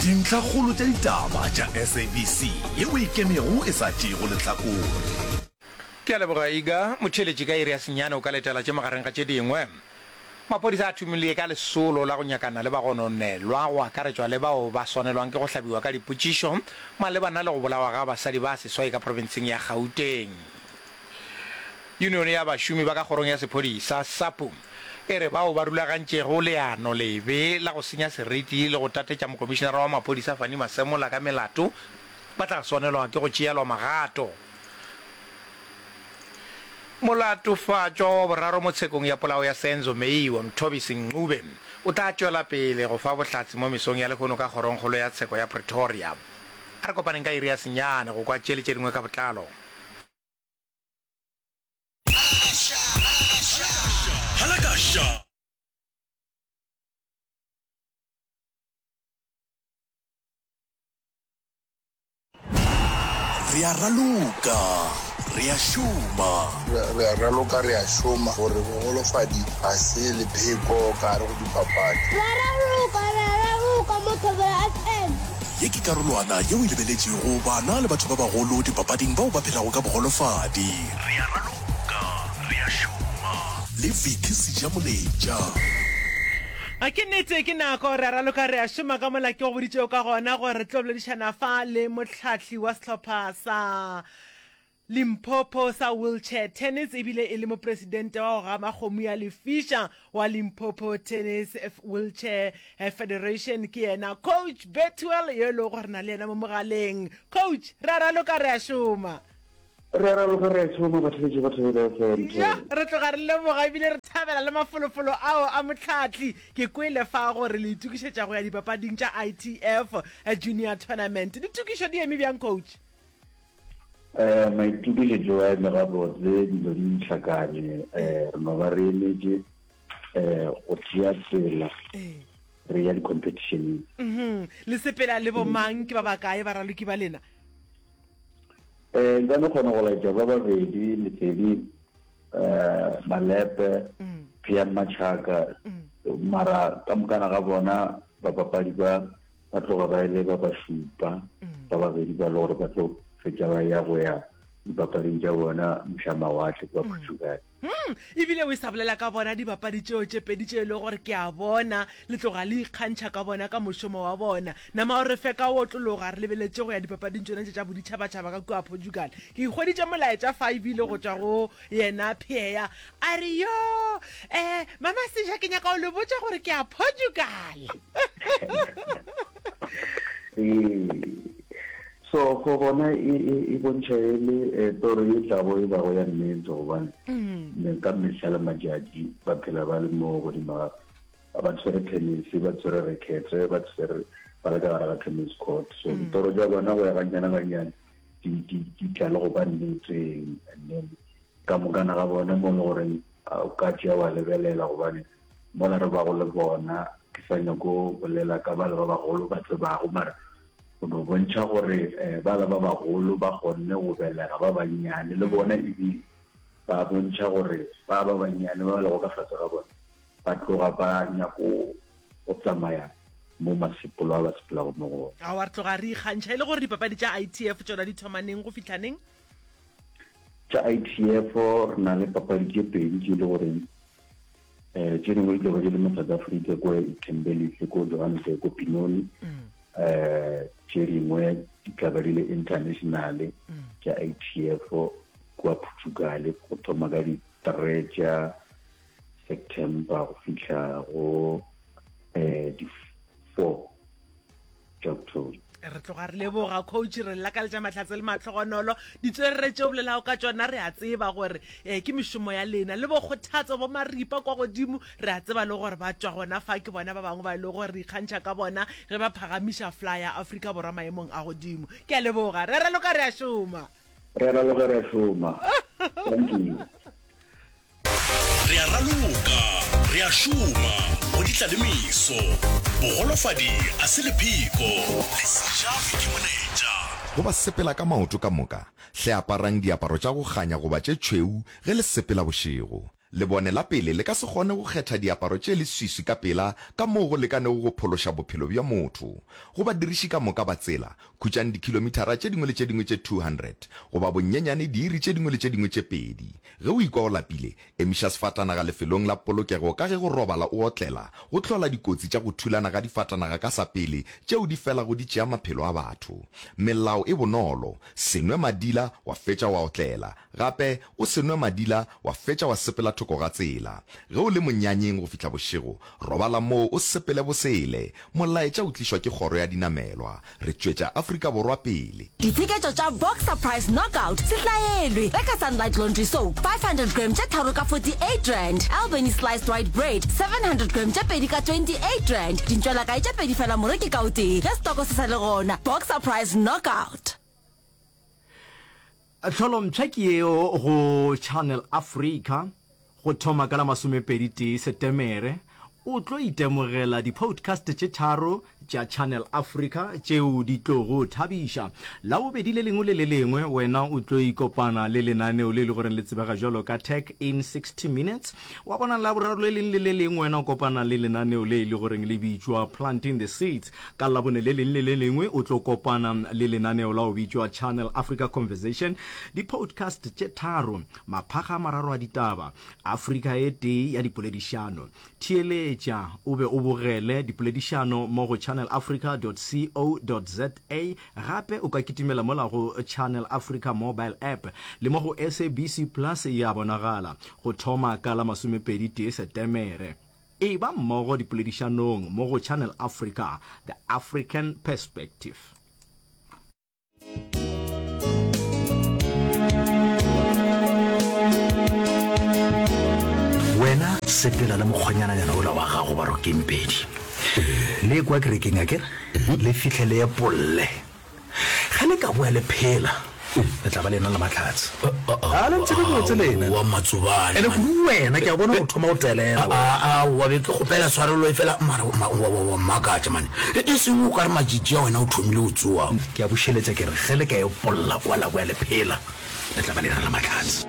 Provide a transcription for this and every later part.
Dintlhakgolo tša ditaba tša SABC yeo e ikemego e sa tšeego lehlakore. Ke a leboga Iga. Motheeletši ka iri ya senyane o ka letela tše magareng ga tše dingwe. Maphodisa a thomile ka lesolo la go nyakana le bagononelwa go akaretšwa le bao ba swanelwang ke go hlabiwa ka dipotšišo malebana le go bolawa ga basadi ba seswai ka profenseng ya Gauteng. Yunione ya bašomi ba ka kgorong ya sephodisa, SAPU, e re bao ba rulagantšego leano lebe la go senya seriti le go tatetša mokomišenara wa maphodisa Fannie Masemola ka melato ba tla swanelwa ke go tšeelwa magato. Molatofatšwa wa boraro mo tshekong ya polao ya Senzo Meyiwa, Mthobisi Ncube, o tla tšwela pele go fa bohlatse mo mesong ya lehono ka Kgorongkgolo ya Tsheko ya Pretoria. A re kopaneng ka iri ya senyane go kwa tše le tše dingwe ka botlalo. Re a raloka, re a šoma. Re a raloka, re a šoma gore bogolofadi ga se lepheko ka gare go dipapadi. Re a raloka, re a raloka mo Thobela FM. Ye ke karolwana yeo e lebeletšego bana le batho ba bagolo dipapading bao ba phelago ka bogolofadi. Re a raloka, re a šoma le Vicky Sejamoletša. A ke nnete, ke nako, re a raloka, re a šoma ka mola ke go boditšego ka gona gore re tlo boledišana fa le mohlahli wa sehlopha sa Limpopo sa wheelchair tennis ebile e le mopresidente wa go gama kgomo ya lefiša wa Limpopo Tennis Wheelchair Federation ke yena Coach Bethuel yo e lego gore na le yena mo mogaleng. Coach, re a raloka, re a šoma. Re a raloka re a šoma batheletši ba Thobela FM. Ja, re tloga re leboga ebile re thabela le mafolofolo ao a mohlahli. Ke kwele fa gore le itokišetša go ya dipapading tša ITF Junior Tournament. Ditokišo di eme bjang, coach? Eh, maitokišetšo a eme gabotse, dilo di hlakane. Eh, re no ba re emetše eh go tšea tsela re ya di-competitioneng. Mhm. Le sepela le bomang, ke ba bakae baraloki ba lena? Eh, nka no kgona go laetša ba babedi, Lesedi eh, Malepe, mm. Pian Machaka, mm. mara ka mokana ga bona bapapadi ba ba tloga ba ile ba ba šupa, mm. ba babedi ba le gore ba tlo fetša ba ya go ya dipapading tša bona moša mawatle kwa Portugal. Hmm, ebile o e sa bolela ka bona dibapadi tšeo tše pedi tše e lego gore ke a bona le tloga le ikgantšha ka bona ka mošomo wa bona. Nama o re fe ka o otlologa re lebeletše go ya dipapading tšona tše tša boditšhabatšhaba ka kua Portugal. Ke ikhweditše molaetša fa ebile go tšwa go yena Pheya a re, Yo, eh, Mama Seja ke nyaka go le botša gore ke ya Portugal. Ee. So go gona e, e, e bontšha e le eh, toro e tlago e bago ya nnete gobane mm. ka mehla le matšatši ba phela ba le mo godimo ga ba tshwere tennis ba tshwere rekete ba tshwere ba le ka gare ga tennis court so mm. ditoro tša bona go ya gannyane gannyane di, di, di tla le go ba nneteng and then ka mokana ga bona mo le goreng o ka tšea wa lebelela gobane mola re bago le bona ke sa nyako bolela ka bale ba bagolo ba tsebago mara go no bontšha gore um bala ba bagolo ba kgonne go belega ba bannyane le bona ebile ba bontšha gore ba ba bannyane ba ba lego ka fase ga bona ba tloga ba nyako go tsamaya mo masepolo a ba sepelago mo go ona. Aowa, re tloga re ikgantšha e le gore dipapadi tša ITF tšona di thoma neng go fihla neng? Tša ITF re na le papadi tše pedi tše e le goreng um tše dingwe di tlo ba di le mo South Africa ko Thembelihle ko Johannesburg ko Benoni um tše dingwe di tla ba di le international tša ITF kua Portugal go thoma ka di-three tša September go fihla go um di-four tša October. Re tloga re leboga coach, re lakaletša mahlatse le mahlogonolo. Ditswerere tše o bolelago ka tšona re a tseba gore eh, ke mešomo ya lena le bokgothatso bo maripa kwa godimo re a tseba le gore ba tšwa gona fa ke bona ba bangwe ba e lego gore re ikgantšha ka bona ge ba phagamiša fly ya Afrika Borwa maemong a godimo. Ke a leboga. Re raloka re a šoma. Re raloka re a šoma. Thank you. Re a raloka, re a šoma, go di tla le meso. Bogolofadi a se lepheko, le sejafe ke molaetša. Go ba sepela ka maoto ka moka, hle aparang diaparo tša go kganya goba tše tšhweu ge le sepela bošego. Lebone la pele le ka se kgone go kgetha diaparo tše leswiswi ka pela ka moo go lekanego go phološa bophelo bja motho. Go badiriši ka moka ba tsela, khutšang dikhilomithara tše dingwe le tše dingwe tše 200, goba bonyenyane diiri tše dingwe le tše dingwe tše pedi. Ge o ikwa o lapile, emiša sefatanaga lefelong la polokego ka ge go robala o otlela go hlola dikotsi tša go thulana ga difatanaga ka sa pele tšeo di felago di tšea maphelo a batho. Melao e bonolo, se nwe madila wa fetša wa otlela. Gape, o se nwe madila wa fetša wa sepela thoko ga tsela. Ge o le monyanyeng go fihla bošego, robala moo o sepele bosele. Molaetša o tlišwa ke Kgoro ya Dinamelwa. Re tšwetša Afrika Borwa pele. Ditsheketšo tša Boxer Price Knockout se hlaelwe. Reka Sunlight Laundry Soap 500g tše tharo ka R48, Albany Sliced White Bread 700g tše pedi ka R28. Dintšwelakae tše pedi fela moreki ka o tee ge setoko se sa le gona. Boxer Price Knockout. Tlholompsha ke yeo go Channel Africa go thoma ka la masomepedi tee Setemere. O tlo itemogela di-podcast tše tharo tša Channel Africa tšeo di tlogo thabiša. Labobedi le lengwe le le lengwe wena o tlo ikopana le lenaneo le e le goreng le tsebega bjalo ka Tech in 60 Minutes. Wa bona Laboraro le leng le le lengwe wena o kopana le lenaneo le e le goreng le bitšwa Planting the Seeds. Ka Labone le leng le le lengwe o tlo kopana le lenaneo la go bitšwa Channel Africa Conversation, di-podcast tše tharo, maphakga a mararo a ditaba, Afrika e tee ya dipoledišano. Theeletša o be o bogele dipoledišano mo go channelafrica.co.za. Gape o ka kitimela mola go Channel Africa Mobile App le mo go SABC Plus ya bonagala go thoma ka la masomepedi tee Setemere. Eba mmogo dipoledišanong mo go Channel Africa, The African Perspective. Wena sepela le mokgwanyananyana ola wa gago Barokeng-pedi. Le ye kwa kerekeng akere, le fihle le epolle. Ge le ka boa le phela, le tla ba le ena le mahlatse. A le ntsebe botse lena. Wa Matsobane. Ene kudu wena, ke a bona o thoma go telela. Aowa, be ke kgopela tshwarelo efela mara wa mmakatša mane. E seng o ka re matšitši a wena o thomile go tsoa. Ke a bušeletša ke re, ge le ka epolla kwa la boa le phela, le tla ba le ena le mahlatse.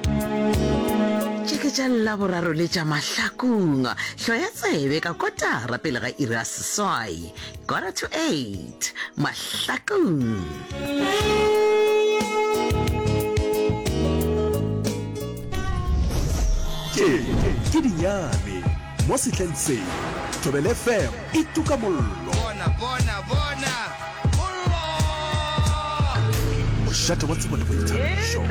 Tše ke tša Laboraro le tša Mahlakung. Hloya tsebe ka kotara pele ga iri ya seswai. Quarter to 8, Mahlakung. Tše ke dinyane mo sehleng se. Thobela FM e tuka mollo. Bona, bona, bona, mollo! Mošate wa tsebo le boithabišo.